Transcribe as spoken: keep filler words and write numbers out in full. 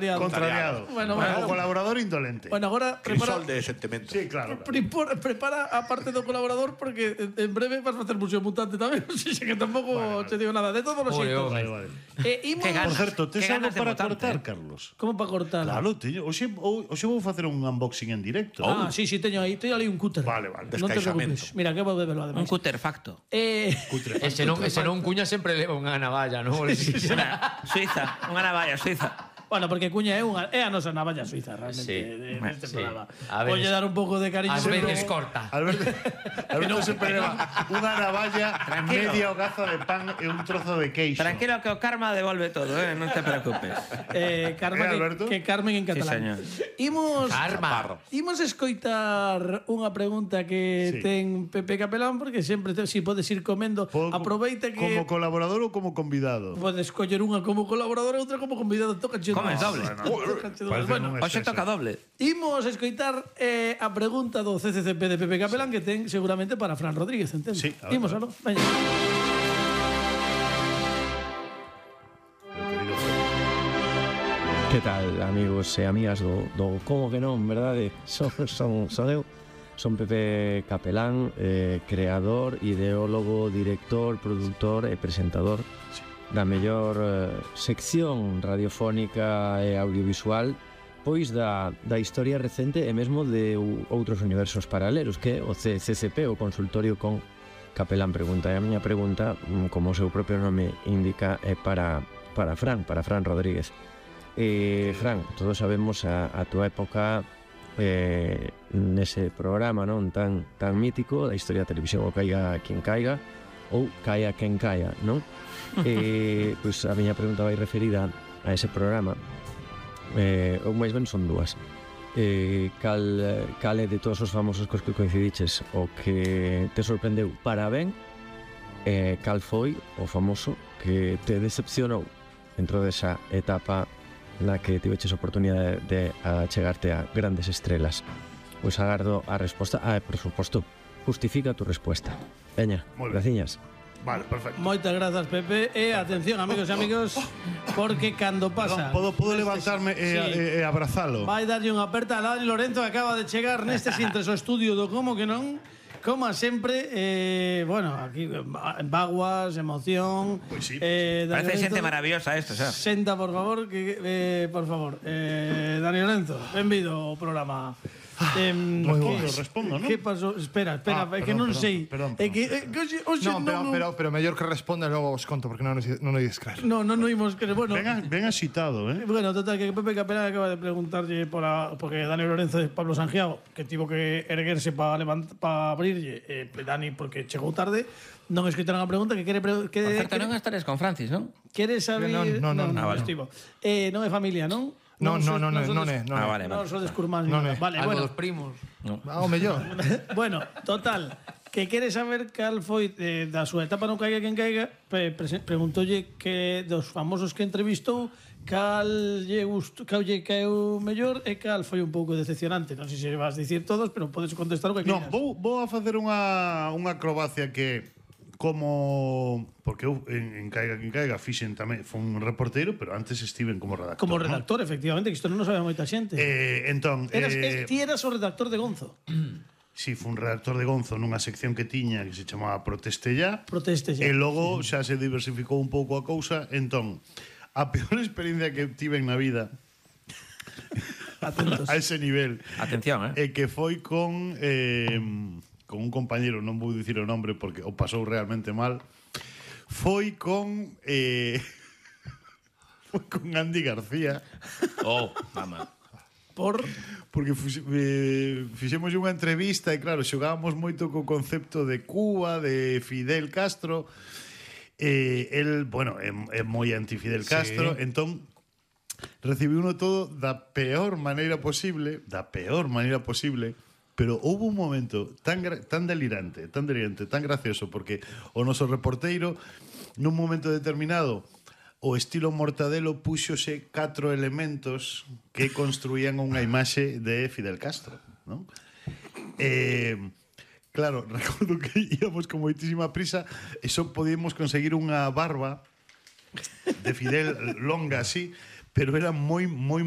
Contrariado. Bueno, bueno, bueno. o colaborador indolente. Bueno, agora prepara... Crisol de sentimento. Sí, claro. Prepara, prepara a parte do colaborador porque en breve vas a facer Museo Mutante tamén. O sea, que tampouco vale, vale. te digo nada. De todos los xeitos. Vale, vale. Eh, imos... Que ganas, Por certo, tes que algo ganas de para mutante, cortar, eh? Carlos? Como para cortar? Claro, teño. Hoxe, hoxe vou facer un unboxing en directo. Ah, sí, sí, teño aí. Teño ali un cúter. Vale, vale. Non te Descaixamento. preocupes. Mira, que vou bebelo Un ademais. cúter facto. Eh... Ese non, ese non Cuña sempre leva unha navalla, non? Una Suiza, unha navalla suiza. Bueno, porque Cuña é unha é a nosa navalla suiza realmente Sí. de, de este Sí. programa. A veces- Voy a dar un pouco de cariño. Ás pero- veces corta. Alberto, Alberto sempre leva unha navalla, Tranquilo. media hogaza de pan e un trozo de queixo. Tranquilo que o karma devolve todo, eh? Non te preocupes. Eh, Carmen, Eh, Alberto? que Carmen en catalán. señor. Imos Karma. Imos escoitar unha pregunta que Sí. ten Pepe Capelán porque sempre te, si podes ir comendo, Podo- aproveita que Como colaborador ou como convidado? podes coller unha como colaborador e outra como convidado, toca che. Comes doble. Bueno, un Hoxe exceso. toca doble. imos escoitar eh, a pregunta do C C C P de Pepe Capelán que ten seguramente para Fran Rodríguez, entende? Sí, a ver, Imos, a ver. aló. Veña. Que tal, amigos e amigas do, do Como que non, verdade? Son, son, son eu, son Pepe Capelán, eh, creador, ideólogo, director, productor e presentador da mellor eh, sección radiofónica e audiovisual pois da, da historia recente e mesmo de u- outros universos paralelos, que é o C C C P, o Consultorio con Capelán Pregunta. E a miña pregunta, mm, como o seu propio nome indica, é para, para Fran, para Fran Rodríguez. Eh, Fran, todos sabemos a, a túa época eh, nese programa non tan tan mítico da historia da televisión, o Caiga quen caiga ou Caia quen caia, non? eh, pois a miña pregunta vai referida a ese programa, eh, ou máis ben son dúas. Eh, cal, cal é de todos os famosos cos que coincidiches o que te sorprendeu para ben, eh, cal foi o famoso que te decepcionou dentro desa etapa na que tiveches oportunidade de achegarte a grandes estrelas? Pois agardo a resposta. Ah, por suposto, justifica tu resposta. Veña, Moi ben. graciñas. Vale, perfecto. Moitas grazas, Pepe. E atención, amigos e amigos, porque cando pasa... Perdón, podo, podo levantarme e, Sí. e, e abrazalo. Vai darlle unha aperta a Dani Lorenzo que acaba de chegar neste sintres o estudio do Como que non. Como sempre, eh, bueno, aquí en vaguas, emoción. Pois sí, eh, Dani Parece Lorenzo, xente maravillosa esto, xa. Senta, por favor, que eh, por favor. Eh, Dani Lorenzo, benvido ao programa. Eh, Respondo, respondo, non? Que pasou? Espera, espera, Ah, é que perdón, non perdón, sei. perdón, É que, é que hoxe, hoxe No, pero, non, pero, pero mellor que responda e logo os conto, porque non, non o ides creer. no, non, non imos que, bueno, Ben, a- ben axitado, eh? Bueno, total, que Pepe Capelán acaba de preguntarlle por a, porque Dani Lorenzo de Pablo Sangiao, que tivo que erguerse para pa abrirlle, eh, Dani, porque chegou tarde, non escritaron a pregunta que quere... Pre, que, Por certo, que, non estares con Francis, non? quere saber... Non, non, non, ah, vale. estivo. Eh, non é familia, non? Non, non, non, sodes- non, sodes- é, non Ah, é. vale, Non vale. sodes curmáns. Non ni é. nada. Vale, Algo bueno. dos primos. Ah, o mellor. Bueno, total, que quere saber cal foi eh, da súa etapa non caiga quen caiga, pre pre preguntolle que dos famosos que entrevistou cal lle gustou, cal lle caeu mellor e cal foi un pouco decepcionante. Non sei se vas dicir todos, pero podes contestar o que Non, queiras. vou, vou a facer unha, unha acrobacia que como porque eu en, en Caiga quen caiga fixen tamén fun un reporteiro, pero antes estiven como redactor. Como non? redactor, efectivamente, que isto non o sabe moita xente. Eh, entón, Eras, eh, eh, ti eras o redactor de Gonzo. si fun redactor de Gonzo nunha sección que tiña que se chamaba Proteste Ya. Proteste E xa. logo xa se diversificou un pouco a cousa. Entón, a peor experiencia que tiven na vida Atentos. a ese nivel Atención, eh? é que foi con eh, con un compañero, non vou dicir o nombre porque o pasou realmente mal. Foi con eh, foi con Andy García. Oh, mamá. Por Porque fux- eh, fixemos unha entrevista e claro, xogábamos moito co concepto de Cuba, de Fidel Castro. Eh, el, bueno, é, é moi anti-Fidel Castro, Sí. entón recibiuno todo da peor maneira posible, da peor maneira posible, pero houve un momento tan, gra- tan delirante, tan delirante, tan gracioso, porque o noso reporteiro, nun momento determinado, o estilo Mortadelo puxose catro elementos que construían unha imaxe de Fidel Castro, non? Eh, claro, recordo que íamos con moitísima prisa e só podíamos conseguir unha barba de Fidel longa así, pero era moi moi